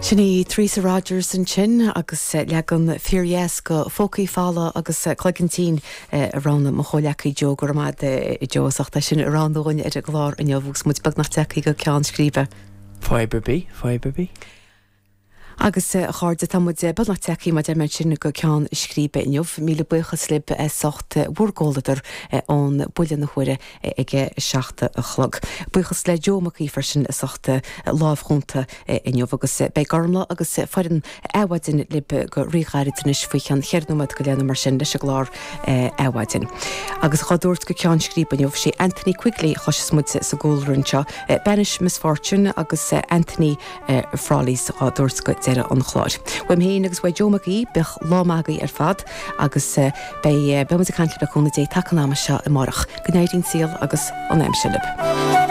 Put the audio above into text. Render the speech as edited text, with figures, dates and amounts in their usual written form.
Sin í Theresa Rogers ansin agus leagan fíordheas de Phócaí Folamha agus Cloigeann Tinn a roghnaigh mo chomhleacaí Joe. Go raibh maith agat a Joe as ucht é sin a roghnú dhúinn ar an gclár inniu agus muid beagnach tagtha go ceann scríbe. Fadhb ar bith, fadhb ar bith. Agus a chairde, tá muid beagnach tagtha, mar a deir mé ansin, go ceann scríbe inniu. Míle buíochas libh as ucht bhur gcomhluadar ón buille na huaire ag a 7 a chlog. Buíochas le Joe Mac Aoidh freisin as ucht lámh chúnta inniu. Agus beidh Gormlaith agus foireann Adhmhaidin libh go ríghairid anois faoi cheann cheithre nóiméad go leith nó mar sin leis an gclár Adhmhaidin. Agus dhá dtabhairt go ceann scríbe inniu, sé Anthony Quigley a chloisfeas muid sa gcúlra anseo, Banish Misfortune agus Anthony Frawley's dhá dtabhairt go deireadh an chláir. Uaim féin agus uaidh Joe Mac Aoidh, bíodh lá maith agaibh ar fad agus beidh, beidh muid ag caint libh le cúnamh Dé taca an ama seo amárach. Go n-éirí an saol agus an aimsir libh.